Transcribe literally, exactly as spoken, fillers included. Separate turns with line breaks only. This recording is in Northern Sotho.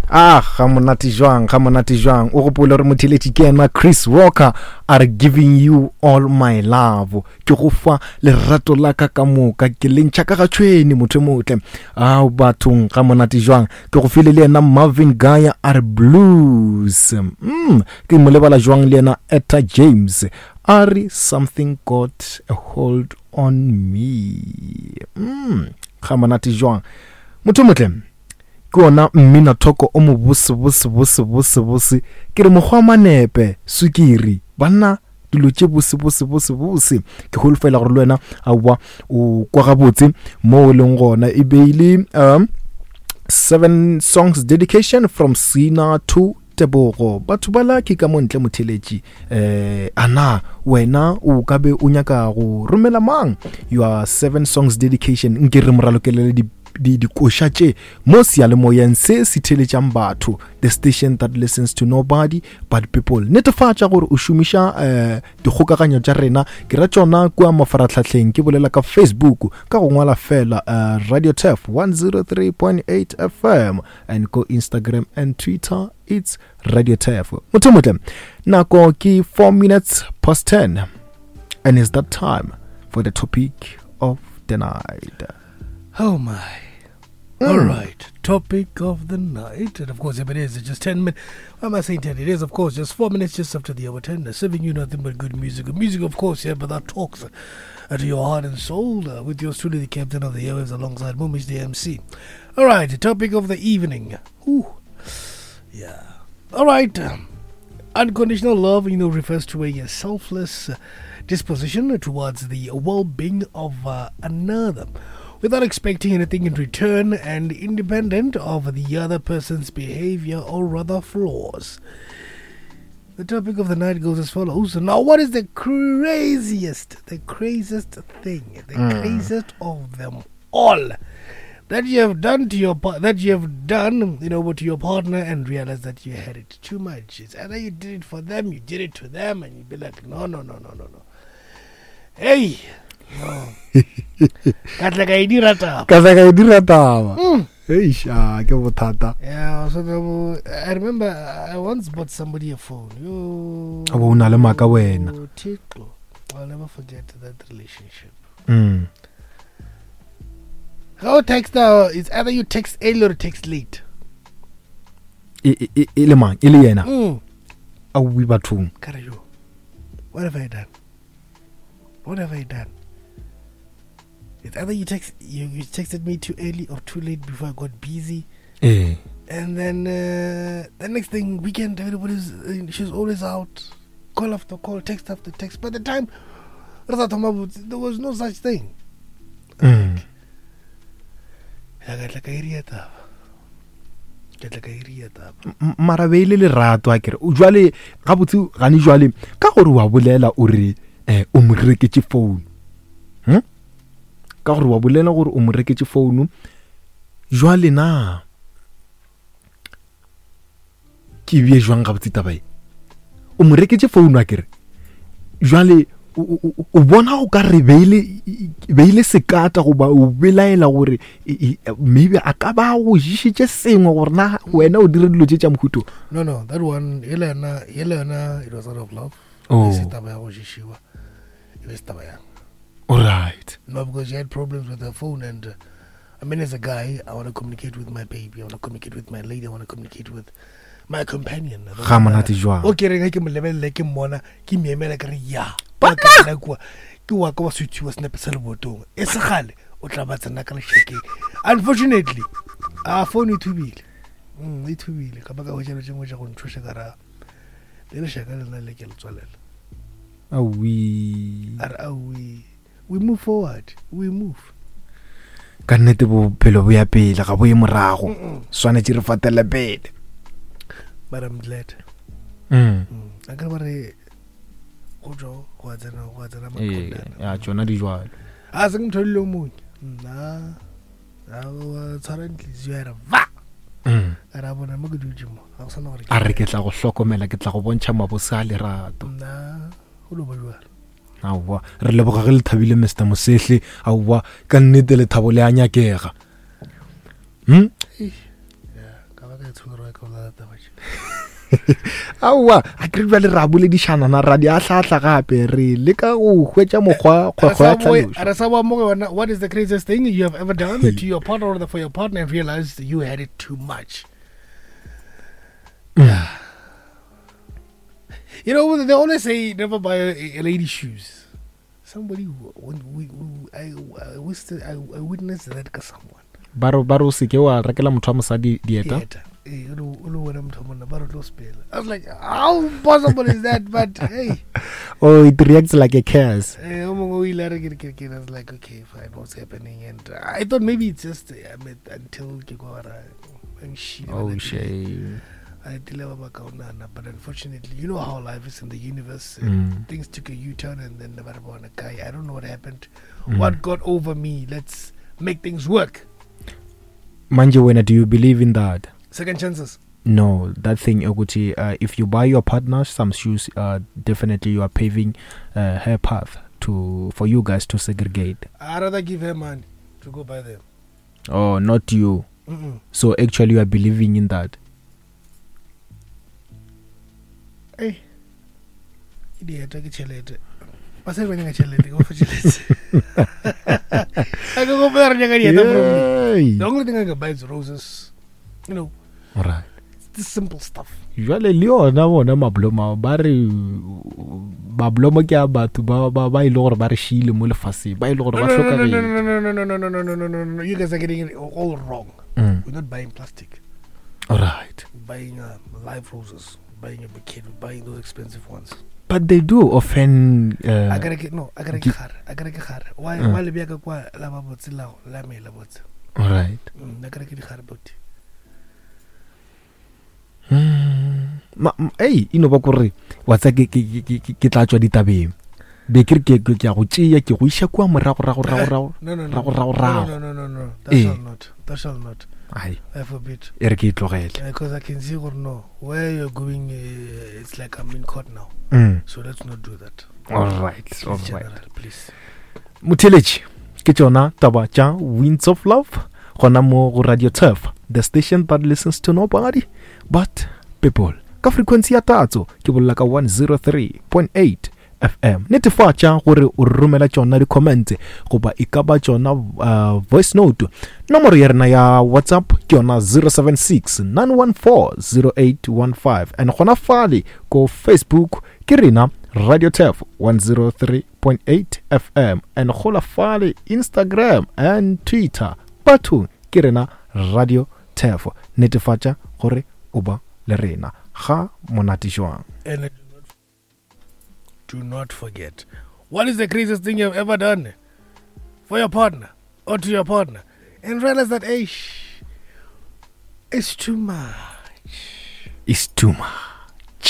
Ah, ga monate jwang, ga monate jwang. O gopole gore motheletši ke yena Chris Walker a re giving you all my love. Ke go fa lerato la ka ka moka, ke le ntšha ka ga tšhwene motho e motle. Ao bathong, ga monate jwang. Ke go file le yena Marvin Gaye a re blues. Mm, ke mo lebala jwang le yena Etta James a re something got a hold on me. Mm, ga monate jwang. Motho motle, ke ona mmina thoko o mo bose bose bose bose bose. Ke re mokgwa manepe sukiri banna dilo tše bose bose bose bose. Ke holofela gore le wena aowa o kwa gabotse mo o leng gona. E beile um seven songs dedication from Sina to Tebogo. Batho ba la ke ka mo ntle motheletši. Eh ana wena o ka be o nyaka go romela mang your seven songs dedication? Nke re moralokelele di di dikoša tše mo seyalemoyeng se se theletšang batho, the station that listens to nobody but people. Netefatša gore o šomiša eh dikgokaganyo tša rena, ke ra tšona kua mafaratlhatlheng, ke bolela ka Facebook ka go ngwala fela uh, Radio Turf one oh three point eight F M, and go Instagram and Twitter it's Radio Turf. Motho motle, nako ke four minutes past ten, and it's that time for the topic of the night.
Oh my. Mm. All right, topic of the night. And of course, if it is, it's just ten minutes. Why am I saying ten? It is, of course, just four minutes just after the hour ten. Serving you nothing but good music. Good music, of course, yeah, but that talks uh, to your heart and soul. Uh, with yours truly, the captain of the airwaves, alongside Mumish, the M C. All right, the topic of the evening. Ooh. Yeah. All right. Um, unconditional love, you know, refers to a selfless uh, disposition towards the well-being of uh, another, without expecting anything in return and independent of the other person's behavior or rather flaws. The topic of the night goes as follows. Now, what is the craziest, the craziest thing, the mm. craziest of them all that you have done to your that you have done, you know, to your partner and realize that you had it too much? It's either you did it for them, you did it to them, and you'd be like, no, no, no, no, no, no. Hey. No. Ka tla ka e dira taba.
Ka tla ka e dira taba. Eish, ke bothata.
Yeah, so the, I remember I once bought somebody a phone. Yo.
A bo na le maka wena.
Thixo. I'll never forget that relationship.
Mm.
How text now? It's either you text early or text late.
E e e le mang? E le yena. Mm. A wi bathong.
Kare yo. What have I done? What have I done? It's either you text you, you texted me too early or too late before I got busy.
Eh.
And then uh, the next thing, weekend, everybody's uh, she's always out, call after call, text after text. By the time there was no such thing.
Mm. Mara be le lerato a kere o jwale ga botse gane jwale ka gore wa bolela o re eh o mo reketse phone. Hm? Ka gore wa bolela gore o mo reketse phone jwale na ke bie jwang ga botse taba e o mo reketse phone a kere jwale o bona go ka re beile beile sekata goba o belaela gore maybe a ka ba go jishitse sengwe gore na wena o dire dilo tše tša mohuto.
No, no, that one yena yena it was out of love.
Oh.
Se taba ya go jishiwa e be taba ya.
All right.
No, because she had problems with her phone, and uh, I mean, as a guy, I want to communicate with my baby, I want to communicate with my lady, I want to communicate with my companion.
Ga monate jwang.
O ke reng ke mo lebelele ke mmona ke miemela ke re ya. Ba kwa ke wa ka wa switchiwa snepe sa lebotong. E se gale o tla ba tsena ka lešakeng. Unfortunately, a phone e thubile. Mm, e thubile ka baka go tšelo tšengwe tša go ntšhoša ka ra. Le lešaka lena le ke le tswalela.
Awi.
A re awi. We move forward. We move.
Ka nnete bophelo bo ya pele ga bo ye morago. Swanetše re fatele pele.
But I'm glad.
Mm.
A ka ba re go jo go tsena go tsena makondana.
Ya tšona di jwalo.
A se motho le mongwe. Nna a wa tshwara ntlizi ya re va.
Mm.
A ra bona mo ke dutše mo. Ga go sana gore.
A re ke tla go hlokomela, ke tla go bontšha mabose a lerato.
Nna go lo ba jwalo.
Aowa, re leboga ge le thabile Mister Mosehle. Aowa, ka nnete lethabo le a nyakega. Hm?
Yeah, ka ba ka tshwere wa ka bolela taba tše.
Aowa, a ke re bjale ra boledišana na ra di ahlaahla gape re leka go hwetša mokgwa kgwekgwe ya tlhalošo.
Re sa boa mo go yona, what is the craziest thing you have ever done to your partner or for your partner and realized you had it too much?
Mm.
You know, they always say never buy a, a lady shoes. Somebody who, when we, we, I, I, wished, I, I witnessed that ka someone.
Ba re ba re o seke wa rekela motho wa mosadi dieta.
Dieta. Eh, o le- o le wena motho wa monna, ba re tlo spela. I was like, how possible is that? But hey,
Oh, it reacts like a curse.
eh, o mongwe o ile a re ke re- ke re- ke re, I was like, okay, fine, what's happening? And I thought maybe it's just, I mean, until ke kwa ba ra- ba nshile, ba
Oh,
ratile.
shame.
I tile ba ba kaonana, but unfortunately, you know how life is in the universe.
Mm.
Things took a U-turn and then ba re bona kae. I don't know what happened.
Mm.
What got over me? Let's make things work.
Manje wena, do you believe in that?
Second chances.
No, that thing ukuthi uh, if you buy your partner some shoes, uh, definitely you are paving uh, her path to for you guys to segregate.
I'd rather give her money to go buy them.
Oh, not you.
Mm-mm.
So actually you are believing in that.
Hey, ke dieta ke tšhelete. Basadi ba nyaka tšhelete, ke ba fa tšhelete. I can go buy nyaka dieta from me.
Yay.
The only thing I can buy is roses. You know,
All right.
it's the simple stuff.
Jwale le yona bona mablomo ao, ba re mablomo ke a batho ba ba ba ile gore ba re šiile mo lefaseng, ba ile gore
No,
ba
no, no, no,
hlokagetse.
no, no, no, no, no, no, no, no, no, no, no. You guys are getting it all wrong.
Mm.
We're not buying plastic.
All right.
We're buying uh, live roses. We're buying a bouquet. We're buying those expensive ones.
But they do often uh,
I gotta get no. I gotta
gi-
get gare. I gotta get gare. Why?
Mm.
Why le bjaka kwa la ba botse la la mela botse.
All right.
Mm, I gotta get gare botse.
Mm. Ma, ma, ei, e no ba kore wa tsa ke ke ke ke- ke tla tswa ditabeng. Be ke re ke ke ke a go tšea ke go iša kua morago rago rago rago.
No, no, no.
Rago rago
No,
rago.
no, no, no, no. That
Eh.
shall not. That shall not.
Ai,
I forbid.
e re ke e tlogele.
Because I can see or no where you're going. Uh, it's like I'm in court now.
Mm.
So let's not do that.
All right,
Please,
all right.
General, please.
Motheletši ke tšona taba tša Winds of Love gona mo go Radio Turf, the station that listens to nobody but people, ka frequency ya tatso ke bolela ka one zero three point eight F M. Netefatša gore o romela tšona di-comment goba e ka ba tšona uh, voice note. Nomoro ya rena ya WhatsApp ke yona zero seven six nine one four zero eight one five, and gona fale ko Facebook ke rena Radio Turf one zero three point eight F M, and gola fale Instagram and Twitter bathong ke rena Radio Turf. Netefatša gore o ba le rena ga monate jwang.
And do not forget, what is the craziest thing you've ever done for your partner or to your partner, and realize that hey, it's too much.
It's too much.